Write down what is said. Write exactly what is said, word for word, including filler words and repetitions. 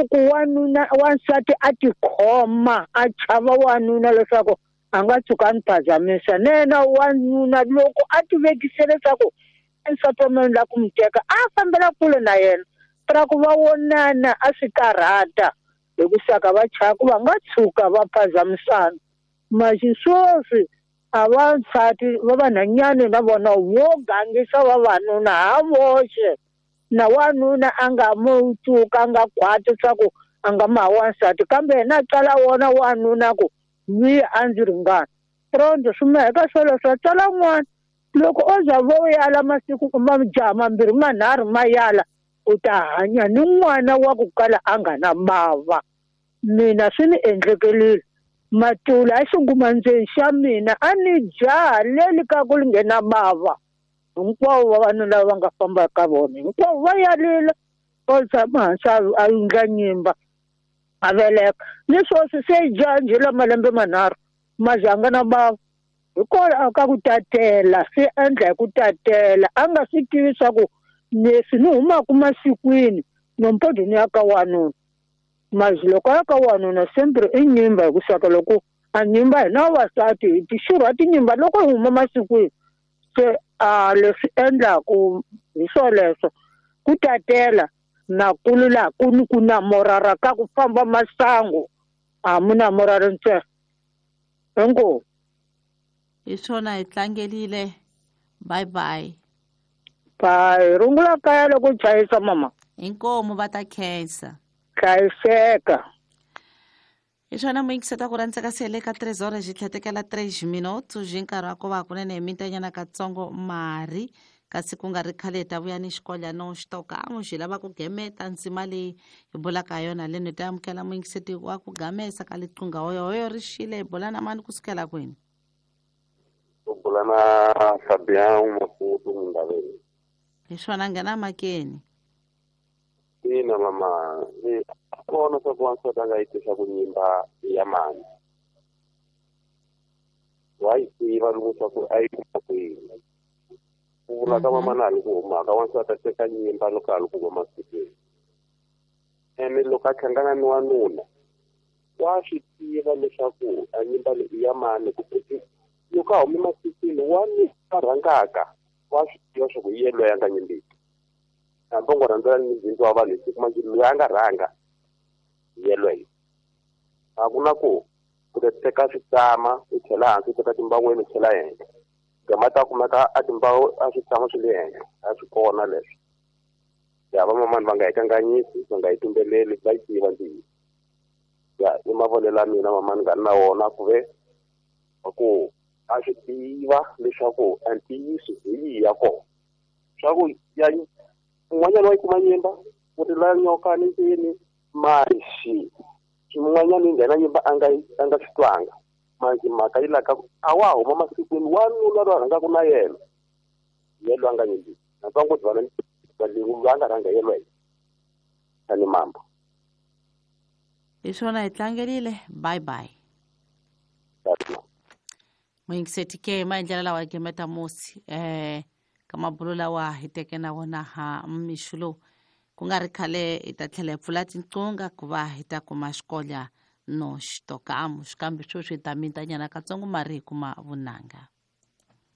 ku ku wanuna wansati a tikhoma a chava wanuna leswaku a nga tshuka a ni phazamisa nena wanuna loko a ti vekise leswaku nsati wa mina ni lava ku n'wi teka a fambela kule na yena ra ku va vonana a swi karhata hi ku saka va chava ku va nga tshuka va phazamisana maxi sweswi a vansati va vanhwanyani na vona vo gangisa vavanuna ha voxe na wanuna a nga mu tshuka a nga khwati swa ku a nga ma wansati kambe yena a tsala wona wanuna ku vi a ndzi ringana rondho swi meheka swoleswo tsala n'wana loko o za vo yala masiku majaha mambirhi manharhu ma yala u ta hanya ni n'wana wa ku kala a nga na bava mina swi ni endlekelile matula a xingumandzeni xa mina a ni jaha leli ka ku li nghena bava hinkwavo vavanuna lava va nga famba ka vona hinkwavo va yalile o tshama hansi a endla nyimba a veleka ni sweswi se jaha njhe la malembe manharhu mazanga na bava hikwalaho ka ku tatela swi endla hi ku tatela a nga swi tivi swa ku leswi ni humaka masikwini nompodho ni ya ka wanuna mazi loko a ya ka wanuna sempre i nyimba hi ku saka loko a nyimba hina vavasati hi tixurha tinyimba loko hi huma masikwini se a leswi endlaku hi swoleswo ku tatela na kulu laha ku ni ku namorara ka ku famba masangu a mu namorari ntsena inkomu hi swona hi tlangelile bye bye bye rungula kaya loko chayisa mama inkomu va ta khensa hlayiseka hi swona muyingiseta ku rhandza ka sele ka três horas hi tlhetekela três minutos hi nkarhi wa ku va kunene hi mintanyana katsongo mari kasi ku nga ri khale hi ta vuya ni xikolyana xitokan'we xi lava ku gemeta ndzima leyi hi bulaka hi yona leni hi ta amukela muyingiseti wa ku gamesa ka liqunga hoyohoyo ri xile hi bula na mani kusukela kwini u bula na Fabian Mafutu Mundaveni hi swona nghena makeni ina mama ni kona swa ku wansati a nga yi tisa ku nyimba ya mani wa yi tiva loko swa ku a yi kuma kwini ku vula ka mamana a li ku humaka wansati a teka nyimba loko a li ku huma masikwini ene loko a hlangana ni wanuna wa swi tiva leswaku a nyimba leyi i ya mani ku loko a hume masikwini wanuna a rhangaka wa swi tiva swa ku hi yena loyi a nga nyimbiki hambi u ngo rhandzela ni bindzu wa vanhu hi siku manje loyi a nga rhanga hi yelweyo a ku na ku ku ta teka switsama u chela hansi u teka timbaweni u chela henhla gama ta kumeka a timbawu a switsama swi le henhla a swi kona leswo ya vamamani va nga hi kanganyisi va nga hi tumbeleli va yi tiva ntiyiso ya i mavonelo ya mina mamani nga ni na wona ku ve ku a swi tiva leswaku a ntiyiso hi yihi ya kona swa ku ya un'wanyana wa yi kuma nyimba u ti laya nyoka ni ndzeni maxi xin'wanyana yi nghena nyimba a nga a nga swi twanga manje mhaka yi laka a wa huma masikwini wanuna loyi a rhangaka na yena ye loyi a nga nyimbiki na ngo dibana loyi a nga rhanga yelweyo tani mambo hi swona hi tlangerile bye bye muyingiseti ke maendlelo lawa ya gemeta musi eh ka mabulo lawa hi teke na wona ha mixo lowu ku nga ri khale hi ta tlhela hi pfula tinqunga ku va hi ta kuma xikolya no xitokamu xikambe sweswi hi ta mintanyana katsongo mari hi kuma vunanga.